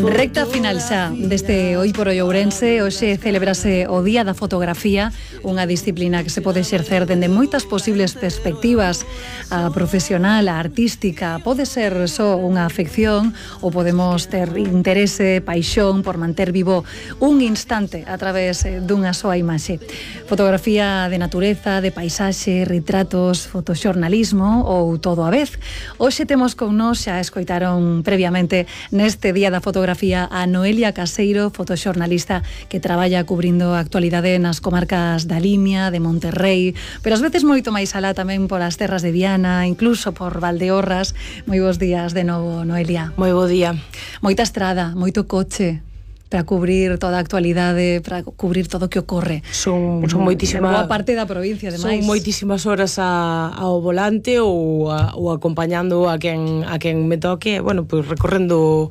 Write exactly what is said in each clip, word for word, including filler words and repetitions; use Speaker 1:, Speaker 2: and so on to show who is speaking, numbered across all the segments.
Speaker 1: Recta final xa deste Hoy por Hoy Ourense. Hoxe celebrase o Día da Fotografía, unha disciplina que se pode exercer dende moitas posibles perspectivas, a profesional, a artística. Pode ser só unha afección ou podemos ter interese, paixón por manter vivo un instante a través dunha soa imaxe. Fotografía de natureza, de paisaxe, retratos, fotoxornalismo ou todo a vez. Hoxe temos con nós, xa escoitaron previamente neste Día da Fotografía, a Noelia Caseiro, fotoxornalista que traballa cubrindo a actualidade nas comarcas da Limia, de Monterrey, pero ás veces moito máis alá tamén por as terras de Viana, incluso por Valdeorras. Moi bons días de novo, Noelia.
Speaker 2: Moi bo día.
Speaker 1: Moita estrada, moito coche para cubrir toda a actualidade, para cubrir todo o que ocorre.
Speaker 2: Son, son moitísimas...
Speaker 1: boa parte da provincia, ademais.
Speaker 2: Son moitísimas horas a, ao volante ou, a, ou acompañando a quen, a quen me toque, bueno, pois pues recorrendo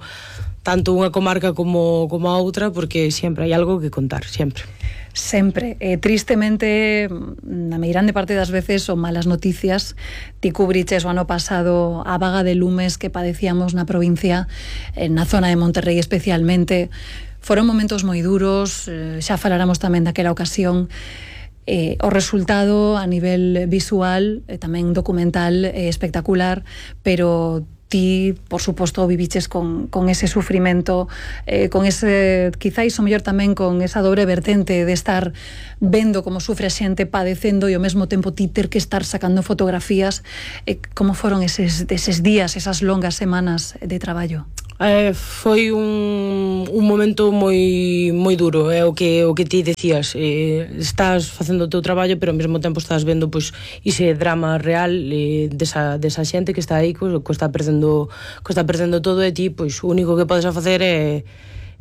Speaker 2: tanto unha comarca como, como a outra, porque sempre hai algo que contar, sempre.
Speaker 1: Sempre. Eh, tristemente, na meirande parte das veces son malas noticias. Ti cubriches o ano pasado a vaga de lumes que padecíamos na provincia, eh, na zona de Monterrey especialmente. Foron momentos moi duros, eh, xa faláramos tamén daquela ocasión. Eh, o resultado a nivel visual, eh, tamén documental, eh, espectacular, pero ti, por suposto, viviches con, con ese sufrimento, eh, con ese, quizáis o mellor tamén con esa dobre vertente de estar vendo como sufre a xente padecendo e ao mesmo tempo ti ter que estar sacando fotografías. Eh, como foron eses, eses días, esas longas semanas de traballo?
Speaker 2: Eh, foi un, un momento moi moi duro, é eh, o que o que ti decías, eh, estás facendo o teu traballo, pero ao mesmo tempo estás vendo pois ese drama real eh, desa, desa xente que está aí, co, co está perdendo co está perdendo todo, e ti pois o único que podes facer é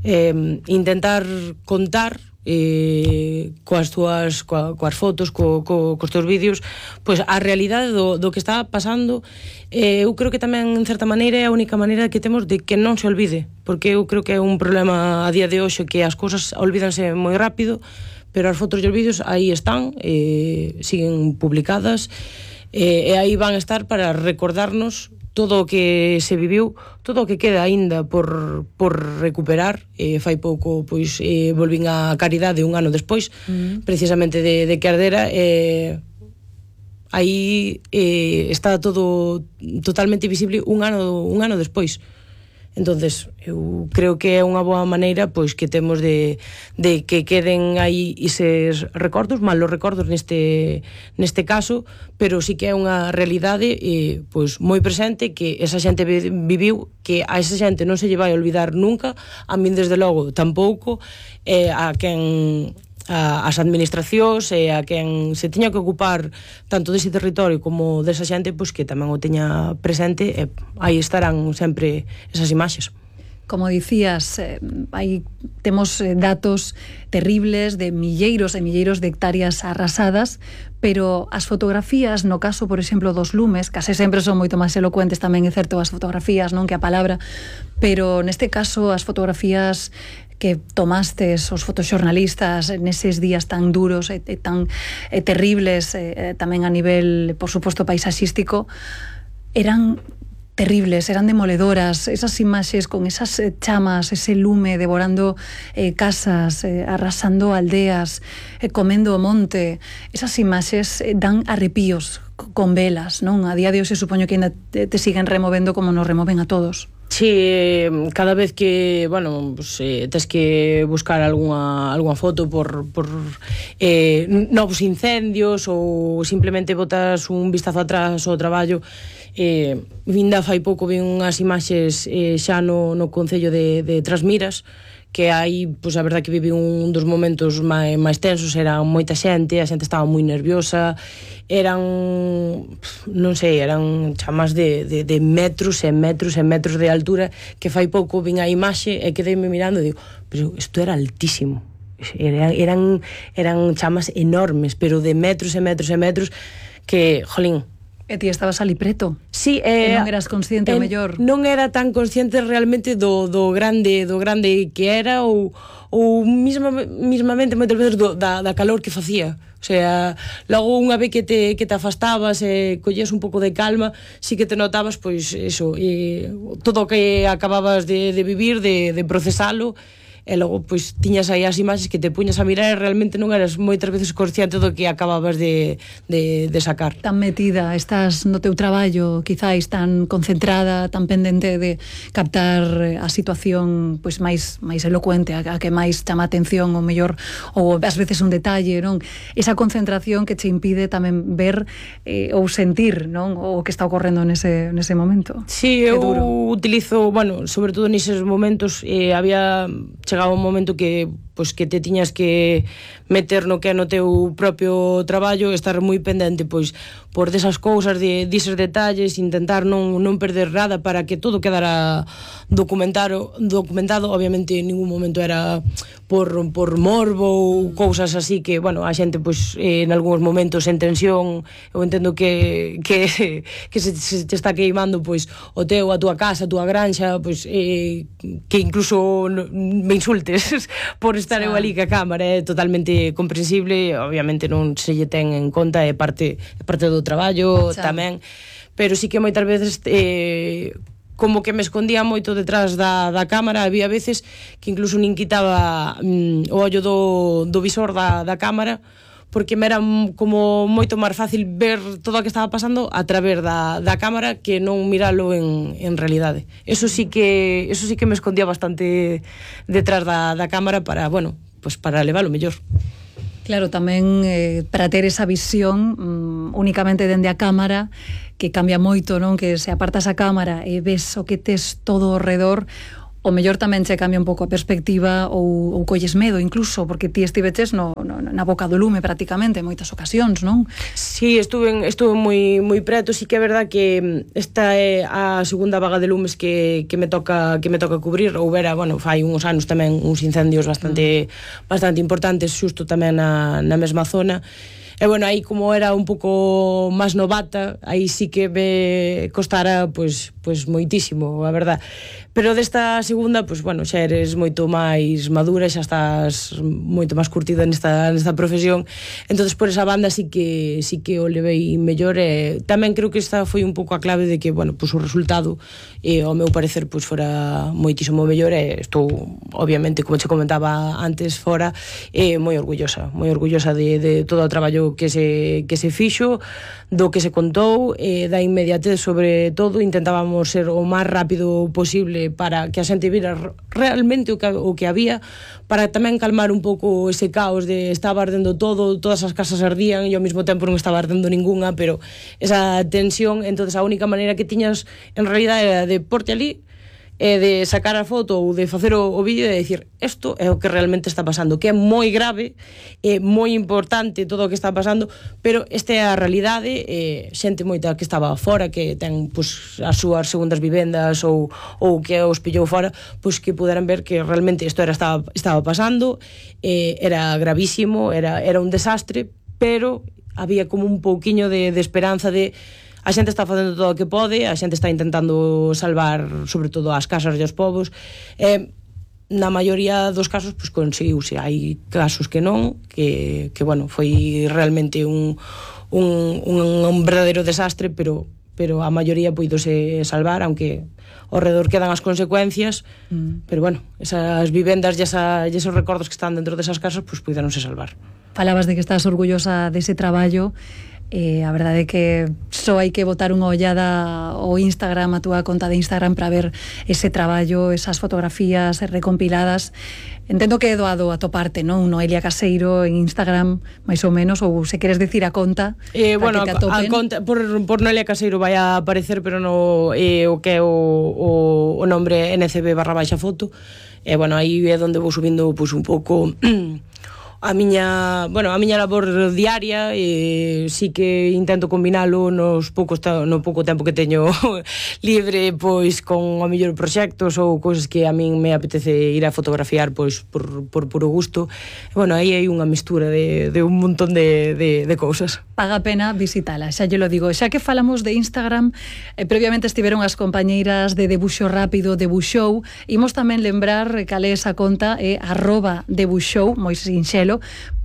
Speaker 2: eh, intentar contar eh, coas túas coa, coas fotos, co, co, cos teus vídeos, pois a realidade do, do que está pasando. Eh, eu creo que tamén en certa maneira é a única maneira que temos de que non se olvide, porque eu creo que é un problema a día de hoxe que as cousas olvídanse moi rápido, pero as fotos e os vídeos aí están, eh, siguen publicadas, eh, e aí van a estar para recordarnos todo o que se viviu, todo o que queda aínda por, por recuperar. Eh, fai pouco pois eh, volvín a Caridade un ano despois, mm. precisamente de, de que ardera, eh, aí eh, está todo totalmente visible un ano, un ano despois. Entonces, eu creo que é unha boa maneira pois que temos de, de que queden aí eses recordos, malos recordos neste, neste caso, pero sí que é unha realidade eh, pois moi presente, que esa xente viviu, que a esa xente non se lle vai olvidar nunca, a min desde logo tampouco, eh, a quen... A, as administracións e a quen se tiña que ocupar tanto dese territorio como desa xente, pois que tamén o teña presente, e aí estarán sempre esas imaxes.
Speaker 1: Como dicías, eh, aí temos eh, datos terribles de milleiros e milleiros de hectáreas arrasadas, pero as fotografías, no caso, por exemplo, dos lumes, case sempre son moito máis elocuentes, tamén é certo as fotografías, non que a palabra, pero neste caso as fotografías que tomastes os fotoxornalistas neses días tan duros e, e tan e terribles, e, tamén a nivel, por suposto, paisaxístico, eran terribles, eran demoledoras. Esas imaxes con esas chamas, ese lume devorando eh, casas, eh, arrasando aldeas, eh, comendo o monte, esas imaxes eh, dan arrepíos con velas, non? A día de hoxe supoño que ainda te, te siguen removendo como nos removen a todos.
Speaker 2: Sí, cada vez que, bueno, pues, eh, tes que buscar algunha, algunha foto por, por eh, novos incendios ou simplemente botas un vistazo atrás ao traballo. Eh, vinda fai pouco vi unhas imaxes eh, xa no, no concello de, de Trasmiras, que aí, pois, a verdade que vivi un dos momentos máis, máis tensos, era moita xente, a xente estaba moi nerviosa, eran, non sei, eran chamas de, de, de metros e metros e metros de altura, que fai pouco vin a imaxe e quedeime mirando e digo, pero isto era altísimo, eran, eran, eran chamas enormes, pero de metros e metros e metros, que, jolín,
Speaker 1: E ti estabas ali preto?
Speaker 2: Sí, eh,
Speaker 1: e non eras consciente,
Speaker 2: eh,
Speaker 1: ao mellor?
Speaker 2: Non era tan consciente realmente do, do grande do grande que era, ou, ou misma, mismamente moitas veces do, da, da calor que facía. O O sea, logo unha vez que te, que te afastabas e collías un pouco de calma, sí que te notabas, pois, eso, e, todo o que acababas de, de vivir, de, de procesalo, e logo, pois, tiñas aí as imaxes que te puñas a mirar e realmente non eras moitas veces consciente do que acababas de, de, de sacar.
Speaker 1: Tan metida, estás no teu traballo, quizáis tan concentrada, tan pendente de captar a situación pois máis máis elocuente, a, a que máis chama a atención, o mellor, ou ás veces un detalle, non? Esa concentración que che impide tamén ver eh, ou sentir, non? O que está ocorrendo nese, nese momento.
Speaker 2: Sí, eu utilizo, bueno, sobre todo neses momentos, eh, había chegaba un momento que pois que te tiñas que meter no que é no teu propio traballo, estar moi pendente pois por desas cousas, de dises detalles, intentar non, non perder nada para que todo quedara documentado, documentado. Obviamente en ningún momento era por, por morbo ou cousas así que, bueno, a xente pois eh, en algúns momentos en tensión, eu entendo que que, que se, se te está queimando pois o teu, a túa casa, a túa granxa, pois eh, que incluso me insultes por estar eu ali que a cámara é totalmente comprensible, obviamente non se lle ten en conta, é parte, é parte do traballo tamén, pero sí que moitas veces eh, como que me escondía moito detrás da, da cámara, había veces que incluso nin quitaba mm, o ollo do, do visor da, da cámara, porque me era como moito máis fácil ver todo o que estaba pasando a través da, da cámara que non miralo en, en realidade. Eso sí que eso sí que me escondía bastante detrás da, da cámara para, bueno, pues para leválo mellor.
Speaker 1: Claro, tamén eh, para ter esa visión um, únicamente dende a cámara, que cambia moito, non? Que se apartas a cámara e ves o que tes todo ao redor, o mellor tamén che cambia un pouco a perspectiva ou, ou colles medo incluso, porque ti estiveches no, no, na boca do lume prácticamente en moitas ocasións, non?
Speaker 2: Sí, estuve, estuve moi, moi preto. Sí que é verdad que esta é a segunda vaga de lumes que, que me toca que me toca cubrir. Houbera, bueno, fai uns anos tamén uns incendios bastante mm. bastante importantes xusto tamén na, na mesma zona. E bueno, aí como era un pouco máis novata, aí sí que me costara pois, pois moitísimo, a verdad. Pero desta segunda, pois bueno, xa eres moito máis madura, xa estás moito máis curtida nesta, nesta profesión. Entonces por esa banda sí que sí que o levei mellor, e tamén creo que esta foi un pouco a clave de que, bueno, pois o resultado e ao meu parecer pois fora moitísimo mellor, e estou obviamente, como che comentaba antes, fora e moi orgullosa, moi orgullosa de, de todo o traballo que se, que se fixo, do que se contou, e da inmediatez sobre todo. Intentábamos ser o máis rápido posible para que a xente vira realmente o que, o que había, para tamén calmar un pouco ese caos de estaba ardendo todo, todas as casas ardían e ao mesmo tempo non estaba ardendo ningunha, pero esa tensión. Entonces a única maneira que tiñas en realidad era de porte ali e de sacar a foto ou de facer o, o vídeo e de dicir isto é o que realmente está pasando, que é moi grave, é moi importante todo o que está pasando, pero esta é a realidade. E xente moita que estaba fora, que ten pues, as súas segundas vivendas ou, ou que os pillou fora, pues, que puderan ver que realmente isto era, estaba, estaba pasando, eh, era gravísimo, era, era un desastre, pero había como un pouquiño de, de esperanza de a xente está facendo todo o que pode, a xente está intentando salvar sobre todo as casas e os povos. Eh, na maioría dos casos pues, conseguiuse. Hai casos que non, que, que bueno, foi realmente un, un, un, un verdadeiro desastre, pero pero a maioría puidose salvar, aunque ao redor quedan as consecuencias, mm. pero bueno, esas vivendas e, esa, e esos recordos que están dentro desas casas, pues puideronse salvar.
Speaker 1: Falabas de que estás orgullosa dese traballo. Eh, a verdade é que só hai que botar unha ollada ao Instagram, a túa conta de Instagram, para ver ese traballo, esas fotografías recompiladas. Entendo que é doado atoparte, non? Noelia Caseiro en Instagram, máis ou menos, ou se queres decir a conta,
Speaker 2: eh, bueno, que te atopen. A conta, por, por Noelia Caseiro vai a aparecer, pero no eh, o que é o, o, o nombre N C B barra baixa foto. E, eh, bueno, aí é onde vou subindo pues, un pouco a miña, bueno, a miña labor diaria, e sí que intento combinalo nos poucos no pouco tempo que teño libre, pois con a mellor proxectos ou cousas que a min me apetece ir a fotografiar pois por, por puro gusto. E, bueno, aí hai unha mestura de, de un montón de, de, de cousas.
Speaker 1: Paga a pena visitala, xa lle lo digo. Xa que falamos de Instagram, eh, previamente estiveron as compañeiras de Debuxo Rápido, Debuxou, imos tamén lembrar cal é esa conta, é arroba Debuxou, moi sinxelo,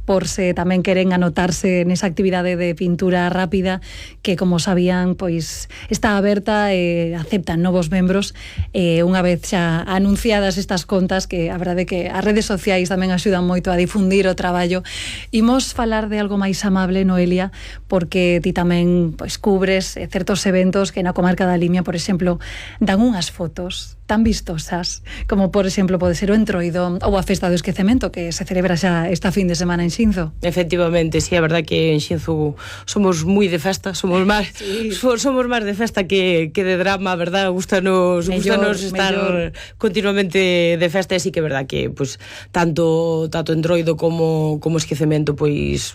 Speaker 1: por se tamén queren anotarse nesa actividade de pintura rápida que, como sabían, pois está aberta e aceptan novos membros, e unha vez xa anunciadas estas contas, que a verdade que as redes sociais tamén axudan moito a difundir o traballo. Imos falar de algo máis amable, Noelia, porque ti tamén pois cubres certos eventos que na comarca da Limia, por exemplo, dan unhas fotos tan vistosas, como por exemplo pode ser o Entroido ou a Festa do Esquecemento, que se celebra xa esta fin de semana en Xinzo.
Speaker 2: Efectivamente, sí, é verdad que en Xinzo somos moi de festa, somos máis sí. somos máis de festa que, que de drama, verdad? Gustanos, gustanos estar mellor. Continuamente de festa, e sí que é verdad que pues, tanto tanto Entroido como, como Esquecemento pois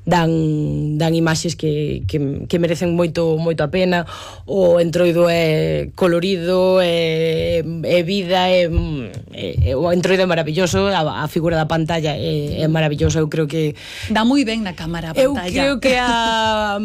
Speaker 2: dan dan imaxes que, que, que merecen moito moito a pena. O Entroido é colorido, é, é vida, é, é, o Entroido é maravilloso, a, a figura da pantalla é, é maravillosa. Eu creo que
Speaker 1: dá moi ben na cámara a pantalla.
Speaker 2: Eu creo que a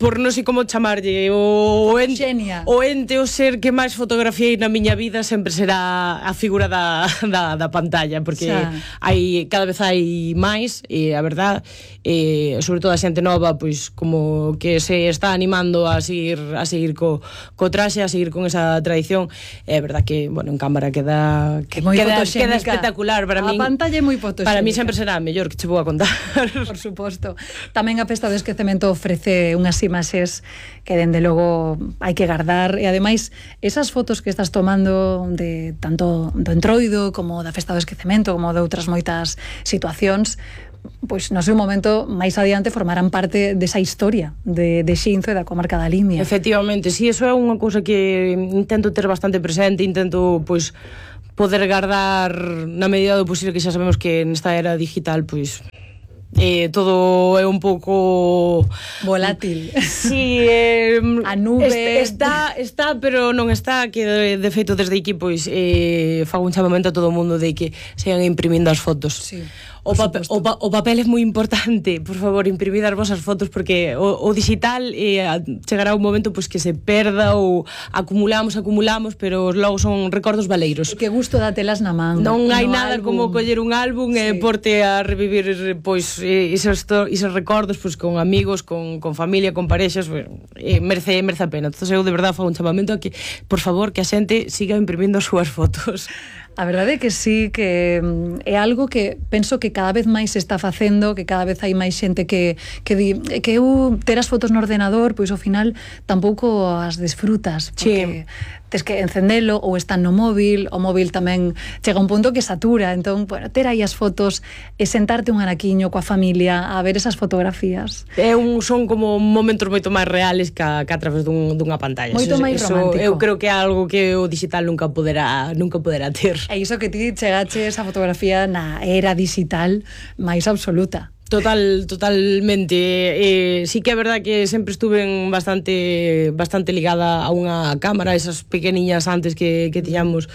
Speaker 2: por non sei como chamarlle, o, o, ente, o ente, o ser que máis fotografiei na miña vida sempre será a figura da, da, da pantalla, porque hai, cada vez hai máis, e a verdad, e, sobre todo a xente nova, pois como que se está animando a seguir a seguir co, co traxe, a seguir con esa tradición. É verdad que, bueno, en cámara queda que queda, queda espectacular para min.
Speaker 1: A pantalla é moi fotoxénica.
Speaker 2: Para mí sempre será a mellor, que che vou a contar.
Speaker 1: Por suposto. Tamén a Festa do Esquecemento ofrece unhas imaxes que dende logo hai que guardar, e ademais esas fotos que estás tomando de tanto do Entroido como da Festa do Esquecemento como de outras moitas situacións, pois no seu momento máis adiante formarán parte desa historia de, de Xinzo e da comarca da Limia.
Speaker 2: Efectivamente, sí, eso é unha cousa que intento ter bastante presente, intento pois poder guardar na medida do posible, que xa sabemos que nesta era digital pois Eh, todo é un pouco
Speaker 1: volátil.
Speaker 2: Sí, eh,
Speaker 1: a nube
Speaker 2: está, está, pero non está, que de, de feito desde aquí pois eh, fago un chamamento a todo o mundo de que sean imprimindo as fotos.
Speaker 1: Sí.
Speaker 2: O, papel, o, pa, o papel é moi importante, por favor, imprimid as vosas fotos, porque o, o digital eh, chegará un momento pues, que se perda, ou acumulamos, acumulamos, pero logo son recordos valeiros.
Speaker 1: E que gusto dátelas na man.
Speaker 2: Non hai no nada álbum. Como coller un álbum sí. e porte a revivir pois, esos, esos recordos pois, con amigos, con, con familia, con parexas, pues, eh, merece, merece a pena. Entón eu de verdade fago un chamamento a que, por favor, que a xente siga imprimindo as súas fotos.
Speaker 1: A verdade é que sí, que é algo que penso que cada vez máis se está facendo, que cada vez hai máis xente que, que di que eu ter as fotos no ordenador, pois ao final tampouco as desfrutas, porque sí. tes que encendelo ou están no móvil, o móvil tamén chega a un punto que satura, entón, bueno, ter aí as fotos e sentarte un anaquiño coa familia a ver esas fotografías.
Speaker 2: É un, son como momentos moito máis reales que a, que a través dun, dunha pantalla.
Speaker 1: Moito
Speaker 2: eso,
Speaker 1: máis
Speaker 2: eso,
Speaker 1: romántico.
Speaker 2: Eu creo que é algo que o digital nunca poderá, nunca poderá ter.
Speaker 1: E iso que ti chegache esa fotografía na era digital máis absoluta.
Speaker 2: Total, totalmente. Eh, sí que é verdad que sempre estuve bastante bastante ligada a unha cámara, esas pequeniñas antes que, que tiñamos,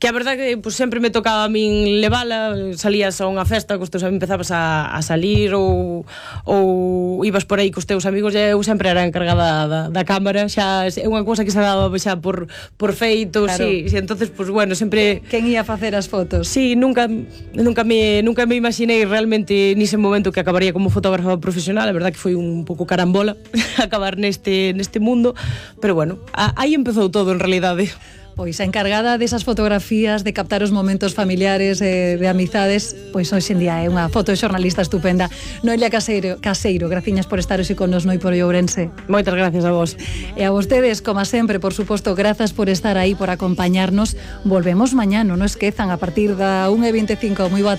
Speaker 2: que a verdad que pues, sempre me tocaba a min levala, salías a unha festa cos teus amigos, empezabas a, a salir ou, ou ibas por aí cos teus amigos, e eu sempre era encargada da, da cámara, xa é unha cousa que se daba xa por, por feito, claro. Sí, sí, entonces pues bueno, sempre
Speaker 1: quen ia facer as fotos?
Speaker 2: Sí, nunca nunca me nunca me imaginei realmente nese momento que acabaría como fotógrafa profesional. A verdad que foi un pouco carambola acabar neste neste mundo, pero bueno, a, aí empezou todo en realidade.
Speaker 1: Pois a encargada desas fotografías, de captar os momentos familiares, eh, de amizades, pois hoxe en día é unha fotoxornalista estupenda. Noelia Caseiro, Caseiro, graciñas por estar hoxe con nos no por Ourense.
Speaker 2: Moitas gracias a vos.
Speaker 1: E a vostedes, como sempre, por suposto, grazas por estar aí, por acompañarnos. Volvemos mañá, non o esquezan, a partir da unha e vinte e cinco. Moi boa tarde.